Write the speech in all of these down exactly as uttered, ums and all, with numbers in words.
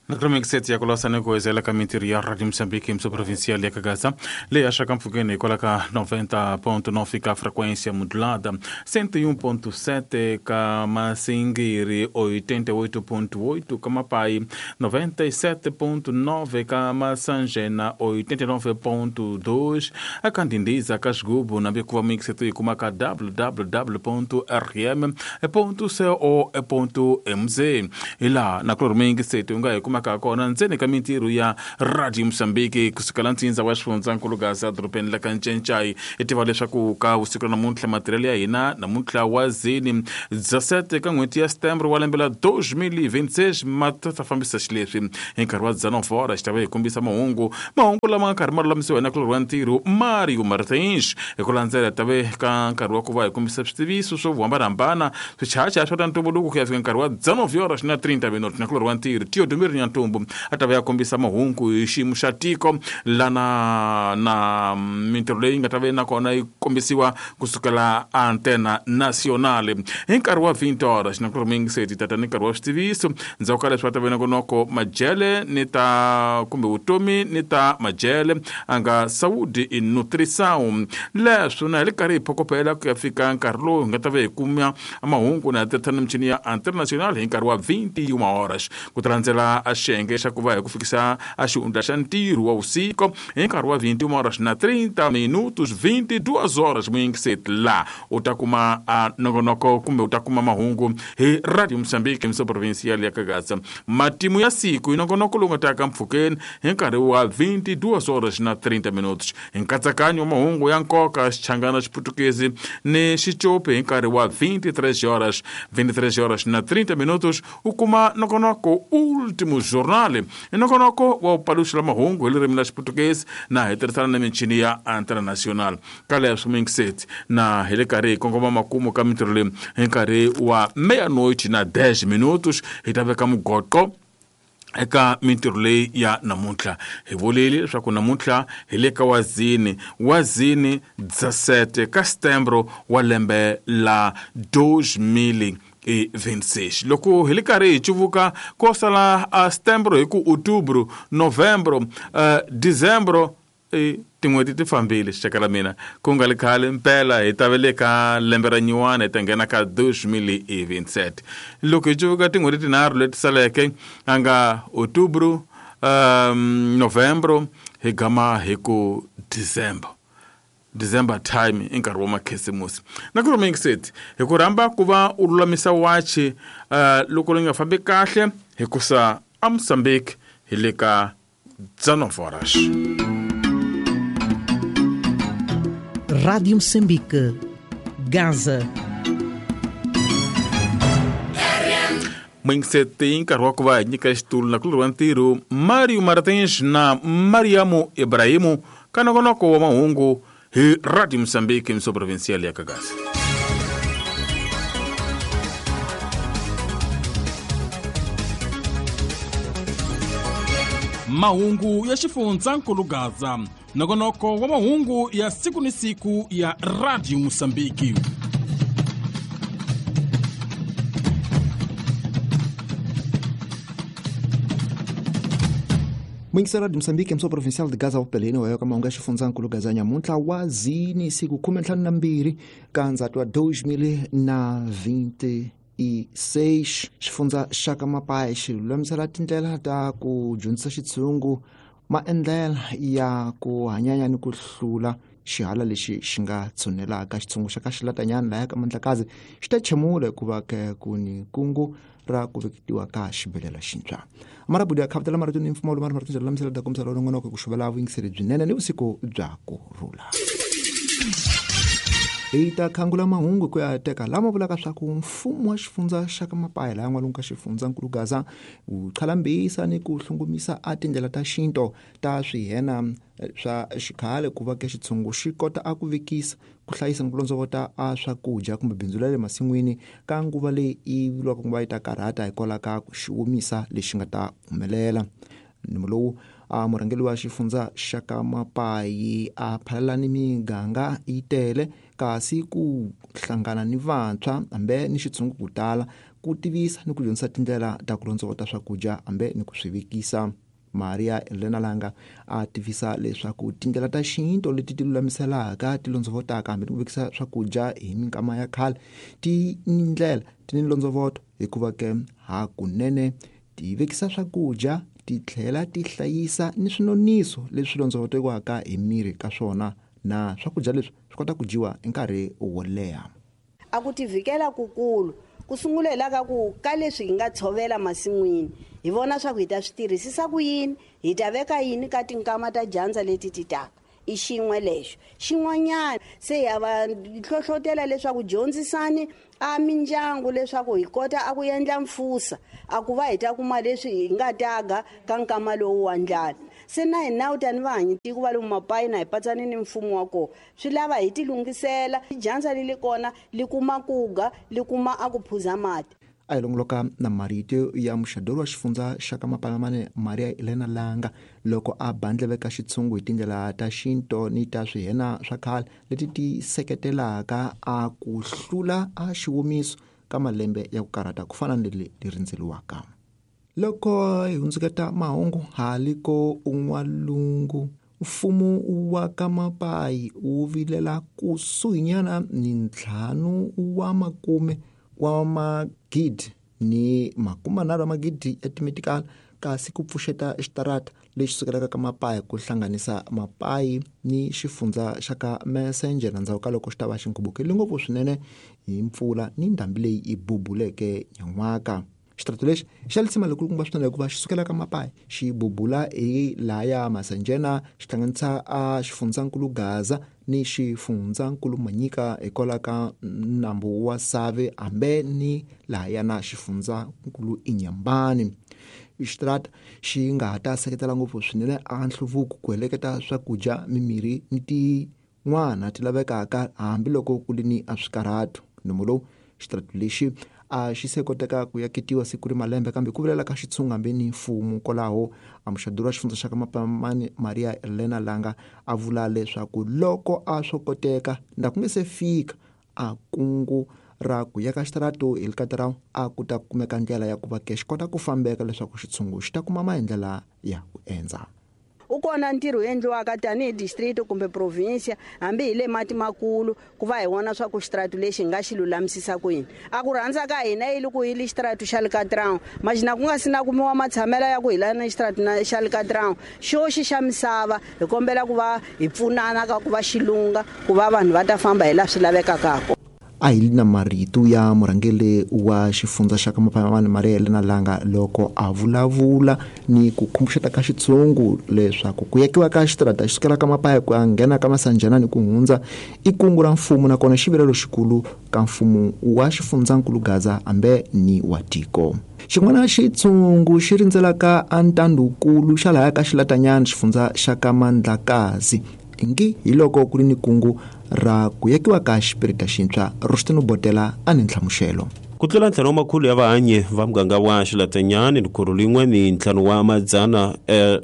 Nakromixet ya kulasa kuwezela ka mintirho ya Radio Moçambique emissão provincial ya Kagaza leyi axaka mpfhukeni hikwalaho ka noventa ponto nove ka frequência modulada, cento e um ponto sete ka Massingiri, oitenta e oito ponto oito ka Mapai, noventa e sete ponto nove ka Massangena, oitenta e nove ponto dois a Candindiza, ka Xigubo, na Bikuva Mixet e kuma ka w w w ponto r m ponto co ponto m z. E lá na Clormixet u nga hi kuma ka kona ntsena ka mintirho ya Radio Moçambique kusukela ntsindza wa xifundzankulu Gaza dorobeni la ka Ncencai. I tiva leswaku ka vusiku namuntlha matirhelo ya hina namuntlha wa zini dezessete ka n'hweti ya Setembro wa lembe la dois mil e vinte e seis ma ta fambisa xileswi hi nkarhi wa dezenove horas xi ta va hi kombisa mahungu mahungu lama nga karhi ma lulamisiwa na kulorhi wa ntirho Mario Martins. Hi ku landzela ta ve ka nkarhi wa ku va hi kombisa switiviso swo hambanahambana swichacha swa ta ntumbuluko ku ya fika nkarhi wa dezenove horas na trinta minutos na kulorhi wa ntirho Teodomiro Nyantumbu a ta va ya kombisa mahungu hi xiyimo xa tiko lana na mintirho leyi nga ta va nakona yi kombisiwa kusukela Antena Nacional hi nkarhi wa vinte horas na kulorhi tata ni nkarhi wa switiviso. Ndzhaku ka leswi va ta va nongonoko majele ni ta kumbe vutomi ni ta majele a nga Saúde e Nutrição. Leswi na hi le karhi hi phokopela ku ya fika nkarhi lowu hi nga ta va hi kuma mahungu na tirhisa michini ya Antena Nacional hi nkarhi wa vinte e uma horas ku ta landzela a xiyenge xa ku va hi ku fikisa a xihundla xa ntirho wa vusiku hi nkarhi wa vinte e uma horas na trinta minutos, vinte e duas horas muyingiseti la u ta kuma a nongonoko kumbe u ta kuma mahungu hi Radio Moçambique emissão provincial ya Kagaza. Matimu ya siku hi nongonoko lowu nga ta ka mpfhukeni hi nkarhi wa vinte e duas horas na trinta minutos. Hi nkatsakanyo wa mahungu ya nkoka Xichangana, Xiputukezi ni Xicopi hi nkarhi wa vinte e três horas, vinte e três horas na trinta minutos u kuma nongonoko Último Jornal. Hi nongonoko wa paluxela mahungu hi ririmi ra Xiputukezi na hi tirhisana na michini ya Antena Nacional. Ka leswi muyingiseti na hi le karhi hi kongoma makumu ka mintirho leyi hi nkarhi wa meia-noite na dez minutos hi ta veka mugoqo eka mintirho leyi ya namuntlha. Hi vulile leswaku namuntlha hi le ka wazini wazini dezessete ka Setembro wa lembe la dois mil e vinte e seis. Loko hi le karhi hi cuvuka ko sala a Setembro hi ku Outubro, Novembro, uh, Dezembro e tin'hweti ti fambile xixaka la mina ku nga li khale mpela hi ta ve le ka lembe ra nyuwana hi ta nghena ka dois mil e vinte e sete. Loko hi cuvuka tin'hweti tinharhu leti saleke a nga Outubro, um, Novembro hi gama hi ku December. December time i nkarhi wa makhisimusi. Na ku rhumekiseti hi ku rhamba ku va u lulamisa wachi uh, loko ri nga fambi kahle hikusa a Moçambique hi le ka dezenove horas. Rádio Moçambique, Gaza. Muyingiseti nkarhi wa ku va hi nyika xitulu na kulorhi wa ntirho Mario Martins na Mariamo Ibrahimu ka nongonoko wa mahungu hi Radio Moçambique emissão provincial ya Kagaza. Mahungu ya xifundzankulu Gaza, nongonoko wa mahungu ya siku ni siku ya Radio Moçambique. Muyingiseri Radio Moçambique emissão provincial de Gaza upeleni wa yoka mahungu ya xifundzankulu Gaza nyamuntlha wa zini siku khume ntlhanu na mbirhi ka ndzhati wa dois mil na vinte e seis. Xifundza xa ka Mapai xi lulamisela tindlela ta ku dyondzisa xitshungu maendlela ya ku hanyanya ni ku hlula xihala lexi xi nga tshunelaka. Xitshungu xa ka Xilatanyana laya ka Mandlakazi xi ta chemula hikuva ke ku ni kungu ra ku veketiwa ka xibedhlele xintshwa. Marabudi ya khavutela marito ni mfumo wa marito lulamisela ta kombisa longonoko ku xuvela vuyingiseri byinene ni vusiku bya ku rhula. Hi ta khangula mahungu ku ya teka lama vulaka swa ku mfumo wa xifundza xa ka Mapai laha n'walungu ka xifundzankulu Gaza wu qhalambisa ni ku hlungumisa a tindlela ta xinto ta swihena swa xikhale ku va ke xitshungu xi kota a ku vekisa ku hlayisa ni ku londzovota a swakudya kumbe bindzu ra le masin'wini ka nguva leyi yi vuriwaka ku va yi ta karhata hikwalaho ka ku xi omisa lexi nga ta humelela. Nomo lowu A murhangeri wa xifundza xa ka Mapayi a phalala ni miganga yi tele kasi ku hlangana ni vantshwa hambe ni xitshungu ku tala ku tivisa ni ku dyondzisa tindlela ta ku londzovota swakudya hambe ni ku swi vekisa. Maria Elena Langa a tivisa leswaku tindlela ta xintu leti ti lulamiselaka ti londzovotaka hambi ni ku vekisa swakudya hi minkama ya khale ti ni ndlela ti ni londzovoto hikuva ke hakunene ti vekisa swakudya ti tlhela ti hlayisa ni swinoniso leswi londzovotiwaka hi miri ka swona na swakudya leswi swi kota ku dyiwa hi nkarhi wo leha. A ku tivikela kukulu ku sungulela ka ku ka leswi hi nga tshovela masin'wini hi vona swa ku hi ta swi tirhisisa ku yini hi ta veka yini ka tinkama ta dyandza leti ti taka i xin'we lexo xin'wanyana se ya va hlohlotela leswaku dyondzisani a mindyangu leswaku hi kota a ku endla mfusa a ku va hi ta kuma leswi hi nga taga ka nkama lowu wa ndlala se na hina u tani vahanyi tiko va lomu Mapayi na hi patsani ni mfumo wa kona swi lava hi tilunghisela dyandza li li kona li kuma kuga li kuma a ku phuza mati. A hi longoloka na marito ya muxadori wa xifundza xa ka Mapalamane Maria Elena Langa loko a bandleveka xitshungu hi tindlela ta xinto ni ta swihena swa khale leti ti seketelaka a ku hlula a xiwomiso ka malembe ya ku karhata ku fana ni leri li rindzeliwaka. Loko hi hundzuketa mahungu haliko un'walungu mfumo wa ka Mapayi wu vilela kusuhinyana ni ntlhanu wa makume wa magidi ni makumanharhu wa magidi ya timetikala kasi ku pfuxeta xitarata lexi sukelaka ka Mapayi ku hlanganisa Mapayi ni xifundza xa ka Messenger ndzhaku ka loko xi ta va xi nkhubukile ngopfu swinene hi mpfula ni ndhambi leyi yi bubuleke nyan'waka. Xitarata lexi xa lisima lekulukumba swinene hikuva xi sukela ka Mapayi xi bubula hi laya Masanjena xi hlanganisa a xifundzankulu Gaza ni xifundzankulu Manyika hikwalaho ka nambu wa Save hambe ni lahaya na xifundzankulu Inyambani. Xitarata xi nga ha ta seketela ngopfu swinene a nhluvuko ku heleketa swakudya mimirhi ni tin'wana ti lavekaka hambiloko ku ri ni a swikarhato. Nomo lowu xitarata lexi a xi se koteka ku yaketiwa siku ri malembe kambe ku vilela ka xitshungu hambi ni mfumo kwalaho a muxaduri wa xifundza xa ka Mapamani Maria Elena Langa a vula leswaku loko a swo koteka nda ku nge se fika a kungu ra ku yaka xitarata hi Likatarau a ku ta kumeka ndlela ya ku va ke xi kota ku fambeka leswaku xitshungu xi ta kuma maendlela ya ku endza. U kona ntirho wu endliwaka tanihi district kumbe province hambi hi le mati makulu ku va hi vona swa ku xitarata lexi hi nga xi lulamisisa ku yini. A ku rhandza ka hina yi ku hi li xitarata xa Likatrão maxina ku nga si na kumiwa matshamela ya ku hi lana xitarata xa Likatrão xo xi xa misava hi kombela ku va hi pfunana ka ku va xilunga ku va vanhu va ta famba hi laha swi lavekaka kona. A hi na marito ya murhangeri wa xifundza xa ka Mapamani Maria Elena Langa loko a vulavula ni ku khumbuxeta ka xitshungu leswaku ku yakiwa ka xitarata xi sukela ka Mapayi ku ya nghena ka Masanjana ni ku hundza i kungu ra mfumo nakona xivilelo xikulu ka mfumo wa xifundzankulu Gaza hambe ni wa tiko. Xin'wana xitshungu xi rindzelaka a ntandukulu xa lahaya ka Xilatanyana xifundza xa ka Mandlakazi ingi hi loko ku ri ni kungu ra ku yakiwa ka xipirita xintshwa Rustino Botela a ni nhlamuxelo. Ku tlula ntlhanu wa makhulu ya vahanyi va muganga wa Xilatanyani likuru lin'we ni ntlhanu wa madzana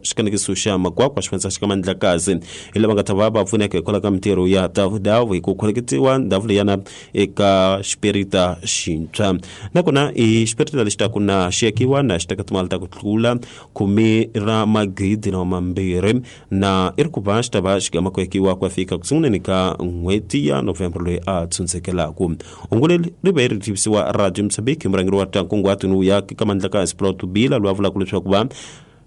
xikanekiso xa Makwakwa xifundza xa ka Mandlakazi hi lava nga ta va va pfuneka hikwalaho ka mintirho ya davudavu hi ku khoneketiwa ndhawu leyana eka xipirita xintshwa nakona i xipirita lexi taku na xi yakiwa na xi teka timali ta ku tlula khume ra magidi na mambirhi na i ri ku va xi ta va xi gama ku yakiwa ku ya fika ku sunguleni ka n'hweti ya November loyi a tshundzekelaku. Hungu leri ri ve ri tivisiwa Radio Mozambique murhangeri wa ta nkunguhato ni ya ka Mandlakazi Plot Bila loyi a vulaka leswaku va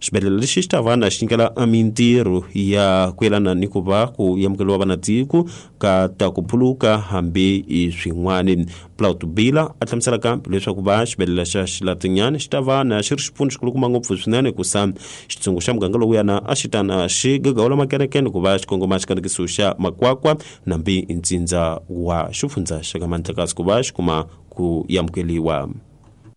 xibedhlele lexi xi ta va na xi nyikela mintirho ya ku yelana ni ku va ku amukeriwa vanatiko ka ta ku phuluka hambi i swin'wani. Plot Bila a hlamusela kambe leswaku va xibedhlele xa Xilatanyana xi ta va na xi ri xipfuno xikulukumba ngopfu swinene ku sa xitshungu xa muganga lowuyana a xi ta na xi gagawula makenekene ku va xi kongoma xikanekiso xa Makwakwa nambi ntsindza wa xifundza xa ka Mandlakazi ku va xi kuma ku amukeriwa.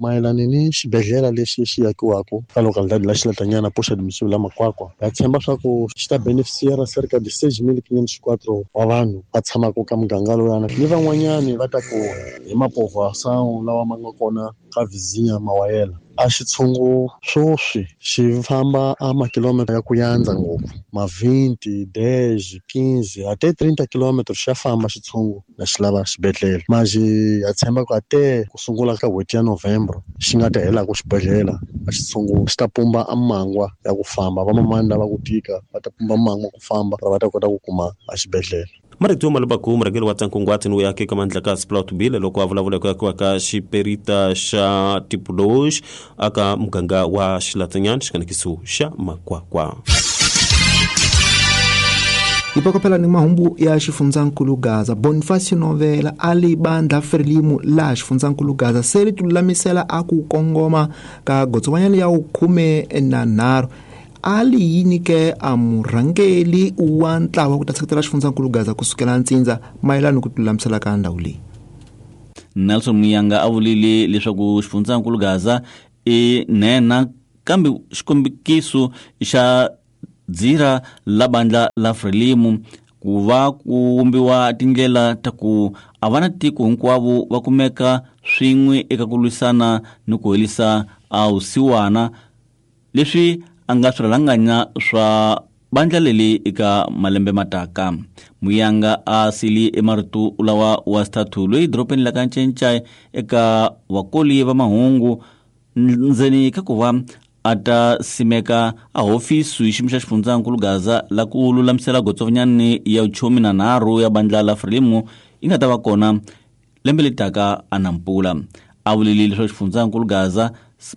Mayelana ni xibedhlele lexi xi yakiwaka ka localidade la Xilatanyana poxa domicílio la Makwakwa ha tshemba swa ku xi ta beneficiara cerca de seis mil quinhentos e quatro wa vanhu va tshamaka ka muganga lowuyana ni van'wanyani va ta ku hi mapovoação lawa ma nga kona ka vizinha Mawayela. A xitshungu swoswi xi famba a makilomita ya ku yandza ngopfu ma vinte, dez, quinze ate trinta kilometro xa famba xitshungu na xi lava xibedhlele maji ya tshemba ku ate ku sungula ka n'hweti ya November xi nga ta hela ku xibedhlele a xitshungu xi ta pumba a mangwa ya ku famba vamamani lava ku tika va ta pumba mangwa ku famba va ta kota ku kuma a xibedhlele. Marito Malubaku murhangeri wa Tsankungwati ni uyaki ka Mandlakazi Plot Bill loko a vulavula ku akiwa ka xiperita xa Tipoloji aka muganga wa Xilatsanyana xikanekiso xa Makwakwa. Ipakophela ni mahungu ya xifundzankulu Gaza. Bonifacio Novela a li bandla Frelimo laha xifundzankulu Gaza se ri tilulamisela a ku kongoma ka gotsowanyana ya khume na nharhu a li yini ke a murhangeli wa ntlawa ku ta seketela xifundzankulu Gaza kusukela ntsindza mayelana ku tilulamisela ka ndhawu leyi. Nelson Muyanga a vulile leswaku xifundzankulu Gaza i nhenha kambe xikombiso xa dzira la bandla la Frelimo ku va ku vumbiwa tindlela ta ku a va na tiko hinkwavo va kumeka swin'we eka ku lwisana ni ku herisa a vusiwana leswi a nga swirhalanganya swa bandla leli eka malembe mataka. Muyanga a sili emarito lawa wa xithathu loyi dorobeni la ka Ncencai eka vakoli va mahungu ndzeni ka ku va a ta simeka a hofisi hi xiyimo xa xifundzankulu Gaza la ku lulamisela gotsovanyani ya khume na nharhu ya bandla la Frelimo yi nga ta va kona lembe leri taka a Nampula. A vulile leswaku xifundzankulu Gaza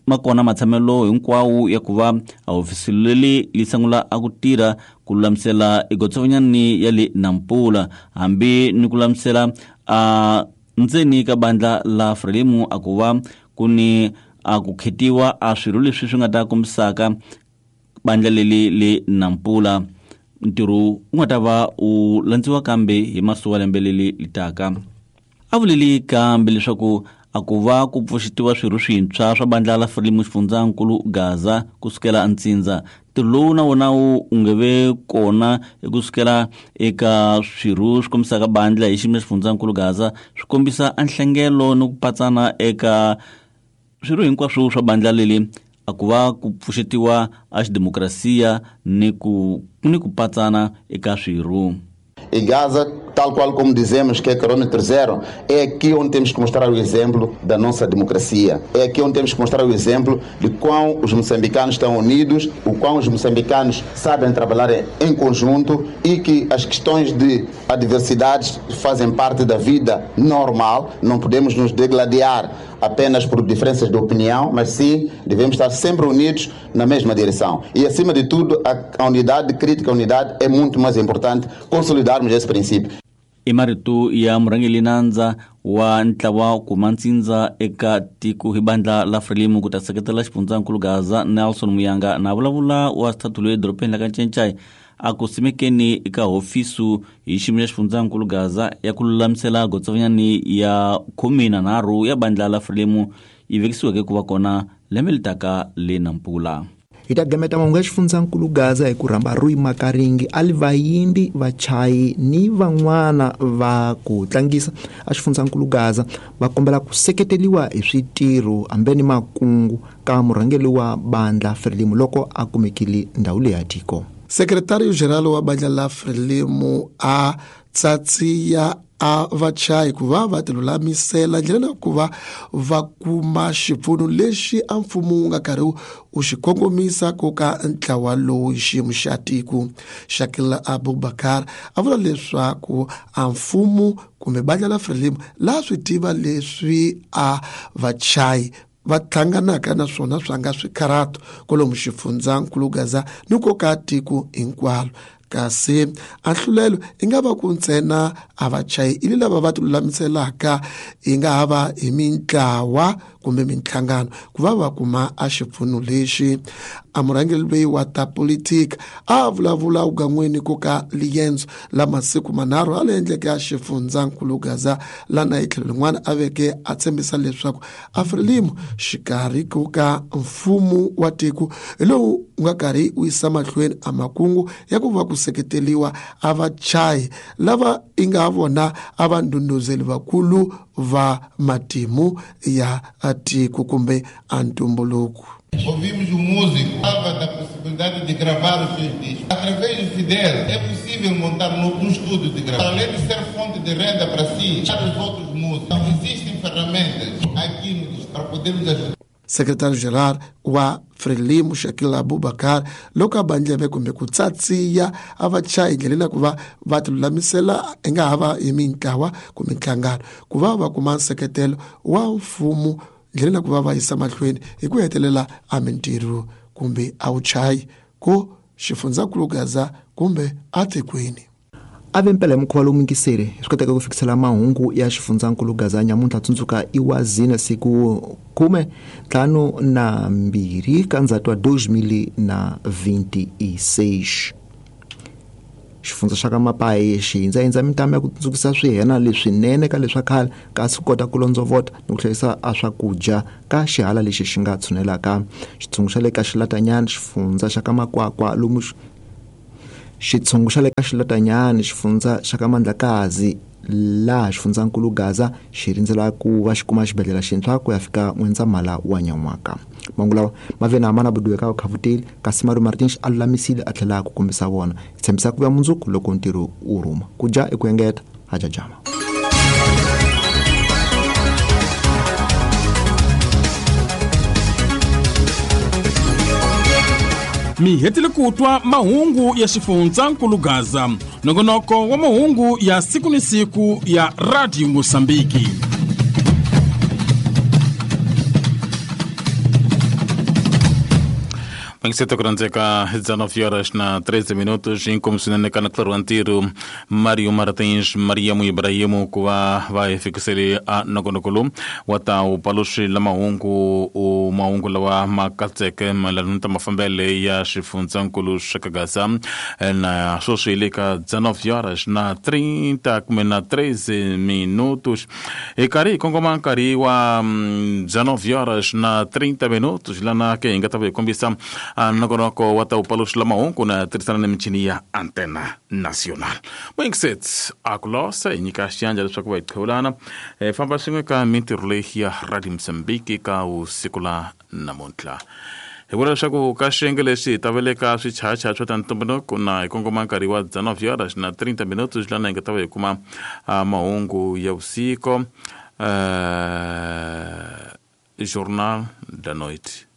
ma kona matshamelo hinkwawo ya ku va a hofisi leli li sungula a ku tirha ku lulamisela egotsovanyani ya le Nampula hambi ni ku lulamisela a ndzeni ka bandla la Frelimo a ku va ku ni a ku khetiwa a swirho leswi swi nga ta kombisaka bandla leli le Nampula. Ntirho wu nga ta va u landziwa kambe hi masiku wa lembe leli li taka. A vuleli kambe leswaku a ku va ku pfuxetiwa swirho swintshwa swa bandla la Frelimo xifundzankulu Gaza kusukela ntsindza. Ntirho lowu na wona wu nge ve kona kusukela eka swirho swi kombisaka bandla hi xiyimo xa xifundzankulu Gaza swi kombisa a nhlengelo ni ku patsana eka swirho hinkwaswo swa bandla leli a ku va ku pfuxetiwa a xidemokrasiya ni ku ni ku patsana eka swirho. E Gaza, tal qual como dizemos que é quilômetro zero, é aqui onde temos que mostrar o exemplo da nossa democracia. É aqui onde temos que mostrar o exemplo de quão os moçambicanos estão unidos, o quão os moçambicanos sabem trabalhar em conjunto e que as questões de adversidades fazem parte da vida normal. Não podemos nos degladiar apenas por diferenças de opinião, mas sim devemos estar sempre unidos na mesma direção. E, acima de tudo, a, a unidade crítica, a unidade é muito mais importante consolidarmos esse princípio. I marito ya murhangeri nandza wa ntlawa kuma ntsindza eka tiko hi bandla la Frelimo ku ta seketela xifundzankulu Gaza Nelson Muyanga na vulavula wa xithathu loyi edorobeni la ka Ncencai a ku simekeni eka hofisu hi xiyimo xa xifundzankulu Gaza ya ku lulamisela gotsovanyani ya khume na nharhu ya bandla la Frelimo yi vekisiweke ku va kona lembe leri taka le Nampula. Hi ta gameta mahungu ya xifundzankulu Gaza hi ku rhamba Rui Makaringi a li vayimbi vachayi ni van'wana va ku tlangisa a xifundzankulu Gaza va kombela ku seketeliwa hi switirho hambi ni makungu ka murhangeri wa bandla Frelimo loko a kumekile ndhawu leyi ya tiko. Secretário-geral wa bandla la Frelimo a tsatsiya a vachayi ku va va tilulamisela ndlela na ku va va kuma xipfuno lexi a mfumo wu nga karhi wu xi kongomisa ku ka ntlawa lowu xiyimo xa tiko. Shakil Abubakar a vula leswaku a mfumo kumbe bandla la Frelimo la swi tiva leswi a vachayi va hlanganaka na swona swa nga swikharato kwalomu xifundzankulu Gaza ni ko ka tiko hinkwalo. Kasi a nhlulelo i nga va ku ntsena a vachayi ili lava va tilulamiselaka i nga ha va hi mintlawa kumbe minhlangano ku va va kuma a xipfuno lexi. a murhangeri loyi wa ta politika a vulavula ugan'weni ku ka liyendzo la masiku manharhu a le endleke ya xifundzankulu Gaza lana hi tlhelo rin'wana a veke a tshembisa leswaku a Frelimo xikarhi ku ka mfumo wa tiko hi lowu nga karhi wu yisa mahlweni a makungu ya ku va ku seketeliwa a vachayi lava i nga vona a va ndhundhuzeli vakulu va matimu ya tiko kumbe a ntumbuluko. Ouvimos o músico, falava da possibilidade de gravar os seus discos. Através do Fidel, é possível montar um estúdio de gravação. Além de ser fonte de renda para si, para os outros músicos. Então, existem ferramentas aqui no distrito para podermos ajudar. Secretário-geral wa Frelimo Shakil Abubakar loko a bandleve kumbe ku tsatsiya a va chayi ndlela ku va va tilulamisela i nga ha va hi mintlawa kumbe nhlangano ku va va kuma nseketelo wa mfumo ndlela ku va va yisa mahlweni hi ku hetelela a mintirho kumbe a wuchayi ku xifundzankulu Gaza kumbe atikweni. A ve mpela hi mukhuva lowu mingiseri swi koteka ku fikisela mahungu ya xifundzankulu Gaza nyamuntlha tsundzuka i wa zina siku khume ntlhanu na mbirhi ka ndzhati wa dois mil na vinte e seis. Xifundza xa ka Mapayi xi hindzahindza mintamu ya ku tsundzukisa swihena leswinene ka leswa khale kasi ku kota ku londzovota ni ku hlayisa a swakudya ka xihala lexi xi nga tshunelaka. Xitshungu xa le ka Xilatanyana xifundza xa ka Makwakwa lomu xitshungu xa le ka Xilatanyana xifundza xa ka Mandlakazi laha xifundzankulu Gaza xi rindzela ku va xi kuma xibedhlele xintshwa ku ya fika N'wendzamhala wa nyan'waka. Mahungu lawa ma ve na mana buduwe ka Khavuteli kasi Mario Martins a lulamisile a tlhela ku kombisa vona. Hi tshembisa ku vuya mundzuku loko ntirho wu rhuma. Ku dya i ku engeta ha jajama. Mi hetile ku twa mahungu ya xifundzankulu Gaza, nongonoko wa mahungu ya siku ni siku ya Radio Mosambiki. Mangiseta kurandzeka dezenove horas na treze minutos inkomisinene kana claro antiro Mario Martins Mariamu Ibrahimu ku va va hi fikisele a nongonoko lowu wa ta wu paluxi la mahungu u mahungu lawa ma katseke mayelana na ta mafambele ya xifundzankulu xa ka Gaza na sweswi hi le ka dezenove horas na trinta kumbe na treze minutos hi karhi hi kongoma nkarhi wa dezenove horas na trinta minutos lana ke hi nga ta va hi kombisa nongonoko wa ta wu paluxi la mahungu na tirhisana na michini ya Antena Nacional. Moingisets a ku losa hi nyika xiyandla leswaku va hi qhewulana hi famba swin'we ka mintirho leyi ya Radio Mozambique ka vusiku la namuntlha. Hi vula leswaku ka xiyenge lexi hi ta veleka swichacha swa ta ntumbuluko na hi kongoma nkarhi wa dezenove horas na trinta minutos lana hi nga ta va hi kuma mahungu ya vusiku uh, Jornal da Noite.